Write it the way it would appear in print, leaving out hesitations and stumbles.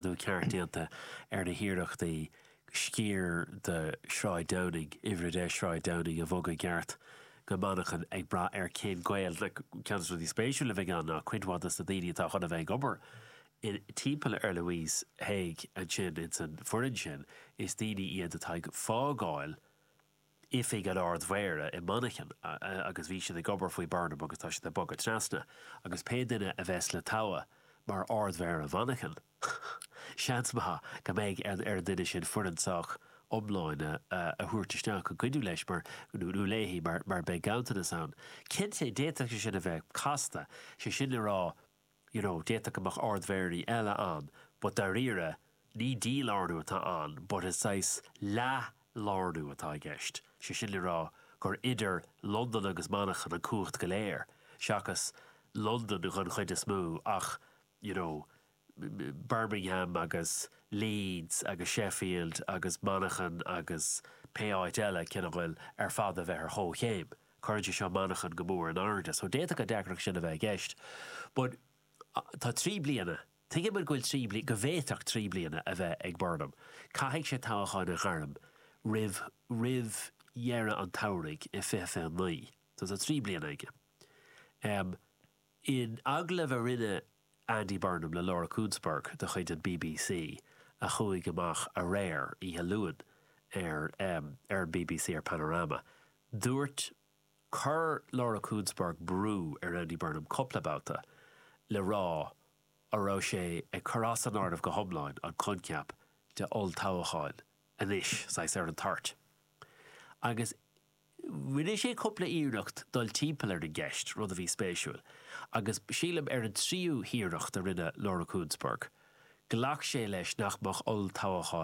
ceart déanta ar na hiarrachtaí sciar de Shráid Downing, Uimhir 10 Sráid Downing a bhogadh i gceart go Manchain ag brath ar cén gaol. Ceann de na rudaí spéisiúla a bheidh ann ná cuid mhaith de na daoine atá chun a bheith ag obair timpeall ar Louise Haigh ansin ins an foireann sin, is daoine iad atá ag fágáil oifig an Ard-Mhéara i Manchain agus bhí siad ag obair faoi Burnham agus tá siad ag bogadh trasna agus pé duine a bheas le toghadh mar Ard-Mhéara Mhanchain seans maith go mbeidh ar an duine sin foireann sách iomlán a thabhairt isteach chun cuidiú leis mar nó léi mar mar beidh ganntanas ann. Cinnte d'fhéadfadh sé sin a bheith casta, sé sin le rá you know, d'fhéadfadh go mbeadh ardmhéaraí eile ann but dáiríre ní dílárnú atá ann but is saghas leath-lárnú atá i gceist, sé sin le rá gur idir Londain agus Manchain an cumhacht go léir seachas Londain don chuid is mó ach you know, Birmingham agus Leeds agus Sheffield agus Manchain agus pé áit eile cineál ar fad a bheith ar chomhchéim. Cuireann sé seo Manchain go mór in airde. So d'fhéadfadh an deacracht sin a bheith i gceist. But tá 3 bliana, tuigeann muid go bhfuil 3 bliana, go bhféadfadh 3 bliana a bheith ag Burnham. Caithfidh sé toghchán a ghairm roimh, roimh dheireadh an tsamhraidh i 2029. So tá 3 bliana aige. Um, in agallamh a rinne Andy Burnham le Laura Kuenssberg de chuid an bbc a chuaigh amach aréir, oíche Luain, ar ar an bbc ar Panorama. Dúirt, chuir Laura Kuenssberg brú ar Andy Burnham cúpla babhta le rá an raibh sé ag cur as an áireamh go hiomlán an coincheap de olltoghchán anois, saghas ar an toirt. Agus Rinne sé cúpla iarracht dul timpeall ar an gceist, rud a bhí spéisiúil, agus sílim ar an tríú hiarracht a rinne Laura Kuenssberg, ghlac sé leis nach mbeadh olltoghchán.